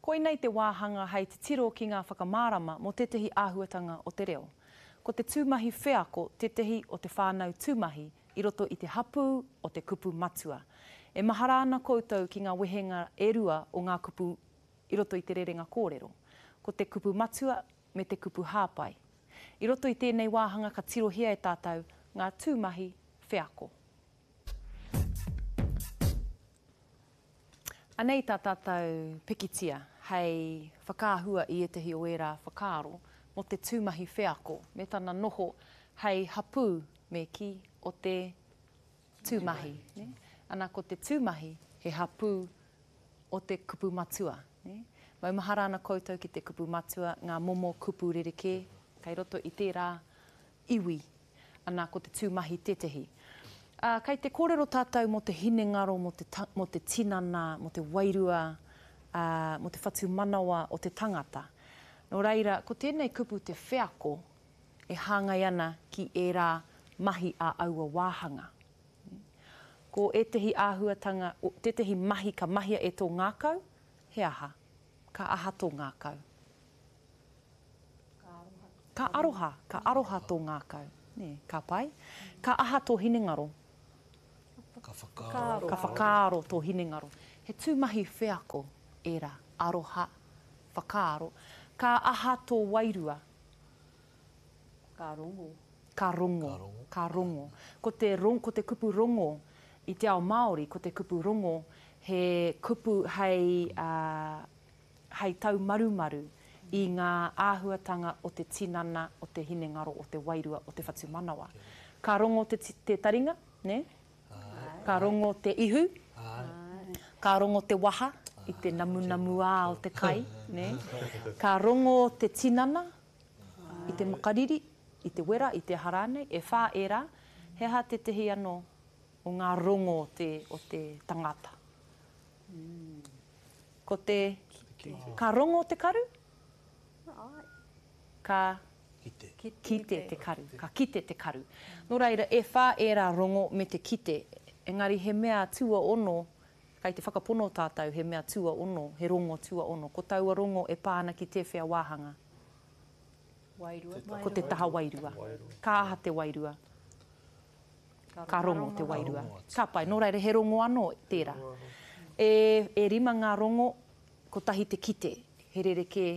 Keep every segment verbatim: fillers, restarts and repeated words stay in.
Koinei te wāhanga hei titiro ki ngā whakamārama mō tētahi āhuatanga o te reo. Ko te tūmahi wheako tētahi o te whānau tūmahi i roto i te hapū o te kupu matua. E mahara ana koutou ki ngā wehenga e rua o ngā kupu i roto i te rerenga kōrero. Ko te kupu matua me te kupu hāpai. I roto i tēnei wāhanga ka tirohia e tātou ngā tūmahi wheako. Anei tā tātou pikitia hei whakaahua i ētahi o ērā whakaaro mō te tūmahi wheako me tana noho hei hapū me kī o te tūmahi. Ne? Ana ko te tūmahi he hapū o te kupu matua. Ne? Maumahara ana koutou ki te kupu matua, ngā momo kupu rerekē kei roto i tērā iwi. Ana ko te tūmahi tētehi. Uh, kei te kōrero tātou mō te hinengaro, mō te, ta, mō te tinana, mō te wairua, uh, mō te whatumanawa o te tangata. Nō reira, ko tēnei kupu te wheako e hāngai ana ki ērā mahi a aua wāhanga. Ko ētehi āhuatanga, tētehi mahi ka mahia e tō ngākau, he aha? Ka aha tō ngākau? Ka aroha. Ka aroha, ka aroha tō ngākau. Nē, ka pai. Ka aha tō hinengaro? Ka whakaaro. Ka whakaaro tō hinengaro. He tūmahi wheako ērā, aroha, whakaaro. Ka aha tō wairua? Ka rongo. Ka rongo. Ka rongo. Ko te, ron, ko te kupu rongo i te ao Māori, ko te kupu rongo he kupu hei, uh, hei taumarumaru i ngā āhuatanga o te tinana, o te hinengaro, o te wairua, o te whatumanawa. Ka rongo te, te taringa, ne? Ka rongo te ihu, ka rongo te waha i te namunamuā o te kai, ne? Ka rongo te tinana i te makariri, i te wera, i te aha rānei, e whā ērā, he aha tētehi anō o ngā rongo o te, o te tangata. Ko te, ka rongo te karu? Ka kite. Kite te karu, ka kite te karu. Nō reira, e whā ērā rongo me te kite, engari he mea tuaono, kei te whakapono tātou he mea tuaono, he rongo tuaono. Ko taua rongo e pā ana ki tēwhea wāhanga? Wairua. Ko te taha wairua. Ka aha te wairua? Ka rongo te wairua. Ka pai, nō reira, he rongo anō tērā. E, e rima ngā rongo, kotahi te kite, he rerekē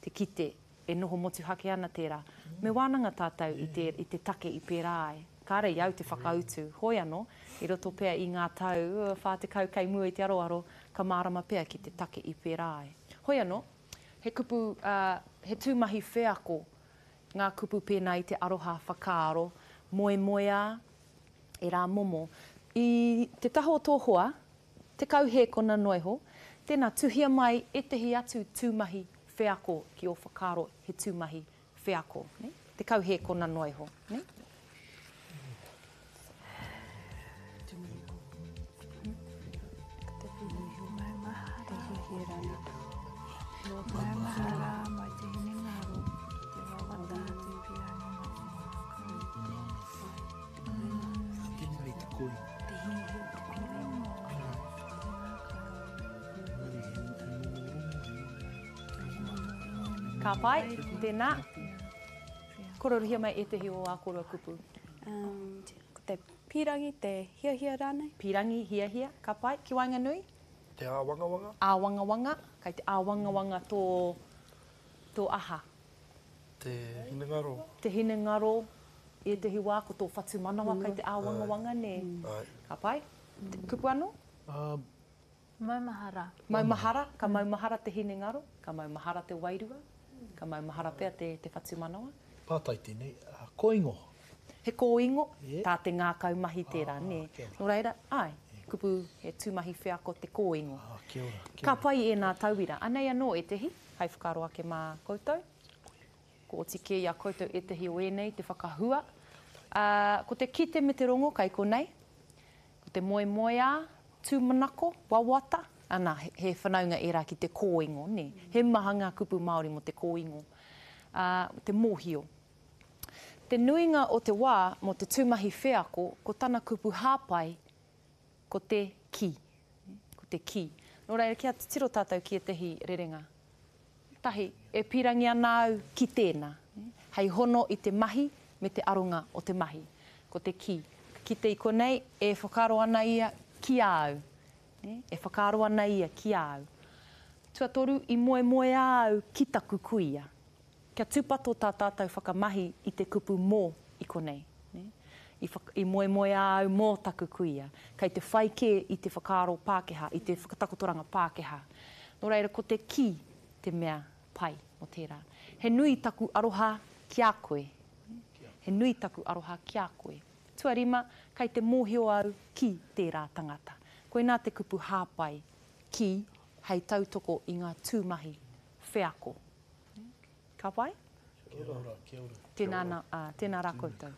te kite, e noho motuhake ana tērā. Me wānanga tātou i te, i te take i pērā ai. Kāre i au te whakautu. Hoi anō, i roto pea i ngā tau, whā tekau kei mua i te aroaro, ka mārama pea ki te take i pērā ai. Hoi anō, he kupu, uh, he tūmahi wheako, ngā kupu pēnā i te aroha whakaaro, moemoeā, e rā momo. I te taha o tō hoa, tekau hēkona noa iho, tēnā tuhia mai ētehi atu tūmahi wheako ki ō whakaaro he tūmahi wheako. Ne? Tekau hēkona noa iho. Ne? Ka pai, tēnā. Kororuhia mai ētehi o ā kōrua kupu. Um, ko te pīrangi, te hiahia rānei. Pīrangi, hiahia, ka pai. Ki waenganui? Te āwangawanga. Āwangawanga, kei te āwangawanga tō, tō aha? Te hinengaro. Te hinengaro, i ētehi wā ko tō whatumanawa kei te āwangawanga, nē. Ai. Ka pai. Kupu anō? Um, Maumahara. Maumahara, ka maumahara te hinengaro, ka maumahara te wairua, ka maumahara pea te, te whatumanawa. Pātai tēnei, uh, kōingo. He kōingo, yeah. Tā te ngākau mahi tērā, ah, nē. Kia ora. Nō reira, ai, kupu he tūmahi wheako te kōingo. Ah, kia ora, kia Ka ora. pai ēnā tauira. Anei anō ētehi, hei whakaaro ake mā koutou. Ko oti kē i a koutou ētehi o ēnei, te whakahua. Uh, ko te kite me te rongo kei konei. Ko te moemoeā, tūmanako, wawata. Ana, he, he whanaunga ērā ki te kōingo, nē. He maha ngā kupu Māori mō te kōingo. Uh, te mōhio. Te nuinga o te wā mō te tūmahi wheako, ko tana kupu hāpai, ko te ki. Ko te ki. Nō reira, kia titiro tātou ki ētehi rerenga. Tahi, e pīrangi ana au ki tēnā, hei hono i te mahi me te aronga o te mahi. Ko te ki. Ka kite i konei, e whakaaro ana ia ki a au. E whakaaro ana ia ki a au. Tuatoru, i moemoeā au ki taku kuia. Kia tūpato tā tātou whakamahi i te kupu mō i konei. I, i moemoeā au mō taku kuia. Kei te whai kē i te whakaaro Pākehā, i te whakatakotoranga Pākehā. Nō reira, ko te ki te mea pai mō tērā. He nui taku aroha ki a koe. He nui taku aroha ki a koe. Tuarima, kei te mōhio au ki tērā tangata. Koinā te kupu hāpai, ki, hei tautoko i ngā tūmahi wheako. Ka pai? Kia ora, kia ora. Tēnā, na, ā, tēnā rā koutou.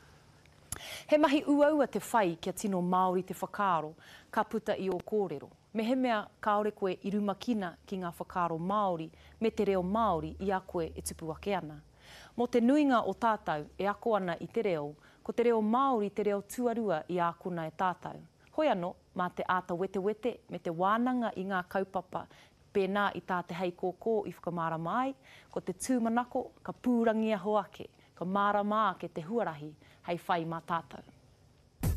He mahi uaua te whai kia tino Māori te whakaaro ka puta i ō kōrero. Mehemea kāore koe i rumakina ki ngā whakaaro Māori me te reo Māori i a koe e tupu ake ana. Mō te nuinga o tātou e ako ana i te reo, ko te reo Māori te reo tuarua i ākona e tātou. Hoi anō, mā te āta wetewete me te wānanga i ngā kaupapa pēnā i tā Te Heikōkō i whakamārama ai, ko te tūmanako ka pūrangiaho ake, ka mārama ake te huarahi hei whai mā tātou.